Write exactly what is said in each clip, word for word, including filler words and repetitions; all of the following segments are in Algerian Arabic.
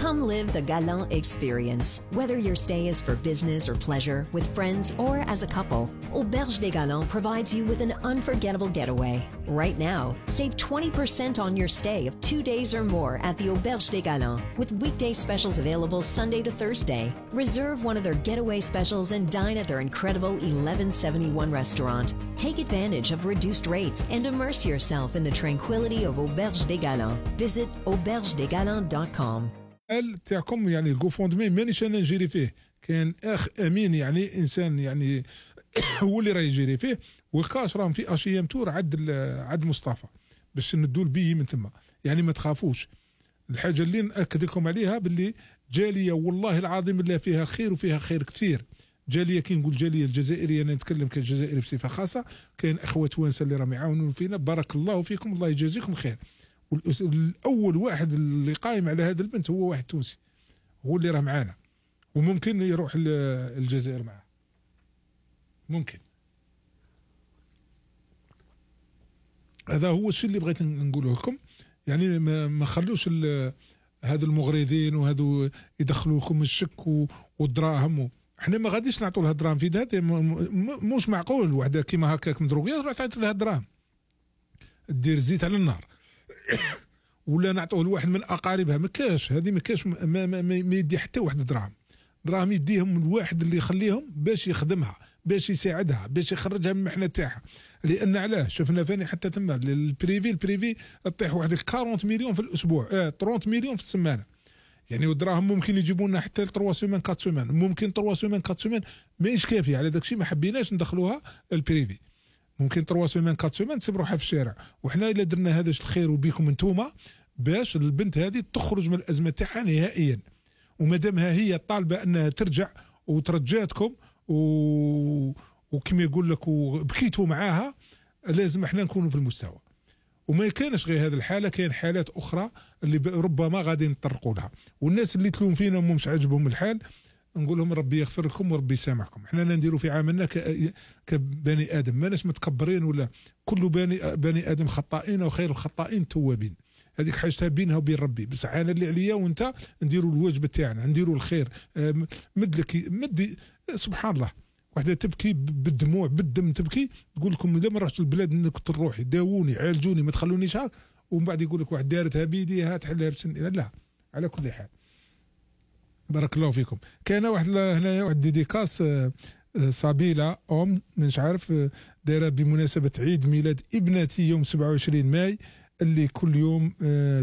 Come live the Galant experience. Whether your stay is for business or pleasure, with friends or as a couple, Auberge des Galants provides you with an unforgettable getaway. Right now, save twenty percent on your stay of two days or more at the Auberge des Galants, with weekday specials available Sunday to Thursday. Reserve one of their getaway specials and dine at their incredible eleven seventy-one restaurant. Take advantage of reduced rates and immerse yourself in the tranquility of Auberge des Galants. Visit auberge des galants dot com. قال تاعكم يعني الكوفوندمي مانيش انا نجري فيه، كان اخ امين يعني انسان يعني هو اللي راه يجري فيه، والكاش راهم في اشيام تور عد عد مصطفى باش ندوا البي من ثم. يعني ما تخافوش. الحاجه اللي ناكد لكم عليها باللي جاليه والله العظيم اللي فيها خير وفيها خير كثير. جاليه كي نقول جاليه الجزائريه، انا نتكلم كجزائري بصفه خاصه، كاين اخوه توانسه اللي راهم يعاونون فينا، بارك الله فيكم، الله يجازيكم خير. والأول واحد اللي قايم على هذا البنت هو واحد تونسي، هو اللي راه معانا، وممكن يروح الجزائر معاه، ممكن. هذا هو الشيء اللي بغيت نقوله لكم. يعني ما خلوش هذا المغرضين وهذو يدخلوا لكم الشك والدراهم. احنا ما غاديش نعطوا لها دراهم في يدها، مش معقول وحده كيما هكاك مدروقيه تروح تعطي لها دراهم، دير زيت على النار. ولا نعطوه لواحد من اقاربها، ما كاش هذه، ما كاش ما, ما, ما, ما يدي حتى واحد دراهم. دراهم يديهم الواحد اللي يخليهم باش يخدمها، باش يساعدها، باش يخرجها من المحنه تاعها. لان علاه شفنا فاني حتى تما البريفي البريفي طيح واحد أربعين مليون في الاسبوع، اه ثلاثين مليون في السمانه. يعني والدراهم ممكن يجيبوا لنا حتى ثلاثة سيمين أربعة سيمين، ممكن ثلاثة سيمين أربعة سيمين ماهيش كافيه على داك الشيء، ما حبيناش ندخلوها البريفي. ممكن ثلاثة سيمين أربعة سيمين تسيب روحها في الشارع. وحنا الا درنا هذا الخير وبيكم انتوما باش البنت هذه تخرج من الازمه تاعها نهائيا. ومادامها هي طالبه انها ترجع وترجاتكم و... وكما يقول لك وبكيتوا معاها، لازم احنا نكونوا في المستوى. وما كانش غير هذه الحاله، كاين حالات اخرى اللي ربما غادي نطرقوا لها. والناس اللي تلوم فينا ومش عاجبهم الحال، نقول لهم ربي يغفر لكم وربي يسامحكم. احنا نديروا في عملنا ك... كبني ادم، ماناش متكبرين، ولا كل بني بني ادم خطائين وخير الخطائين التوابين. هذيك حاجتها بينها وبين ربي. بس انا اللي عليا وانت نديروا الواجب تاعنا، نديروا الخير. مد لك مد، سبحان الله، وحده تبكي بالدموع بالدم، تبكي تقول لكم اذا ما رحتش البلاد انك تروحي داووني عالجوني ما تخلونيش هاك، ومن بعد يقول لك واحد دارتها بيديها تحلها بسن. لا، على كل حال بارك الله فيكم. كان واحد هنا واحد ديديكاس صابيله ام مش عارف دايره بمناسبه عيد ميلاد ابنتي يوم سبعة وعشرين ماي، اللي كل يوم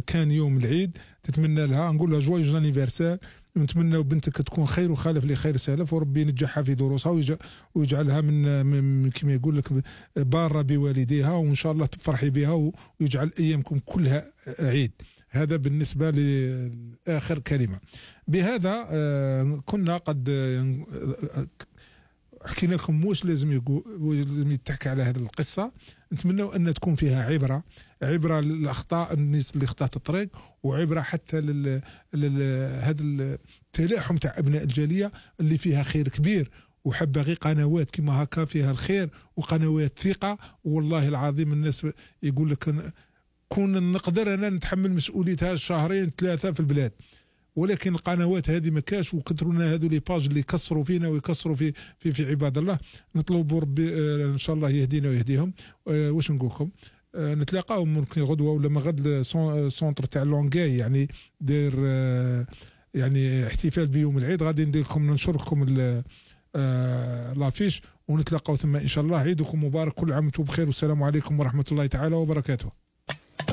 كان يوم العيد. تتمنى لها، نقول لها جوايز انيفرسير، ونتمنى بنتك تكون خير وخالف لخير سالف، وربي ينجحها في دروسها ويجعلها من, من كما يقول لك باره بوالديها، وان شاء الله تفرحي بها ويجعل ايامكم كلها عيد. هذا بالنسبة لآخر كلمة. بهذا كنا قد حكينا لكم واش لازم لازم يتحكى على هذه القصة. نتمنى أن تكون فيها عبرة، عبرة للأخطاء الناس اللي خطأت الطريق، وعبرة حتى لل هذا التلاحم تاع أبناء الجالية اللي فيها خير كبير. وحبغي قنوات كما هكا فيها الخير وقنوات ثقة. والله العظيم الناس يقول لك كون نقدر انا نتحمل مسؤوليتها شهرين ثلاثه في البلاد، ولكن القنوات هذه ما كاش، وكثرونا هذو لي باج اللي يكسروا فينا ويكسروا في في في عباد الله. نطلبوا ربي آه ان شاء الله يهدينا ويهديهم. آه واش نقول لكم، آه نتلاقاو ممكن غدوه ولا ما غد سونتر تاع لونغاي، يعني داير آه يعني احتفال بيوم العيد. غادي ندير لكم ننشر لكم آه لافيش، ونتلاقاو ثم ان شاء الله. عيدكم مبارك، كل عام وانتم بخير، والسلام عليكم ورحمه الله تعالى وبركاته.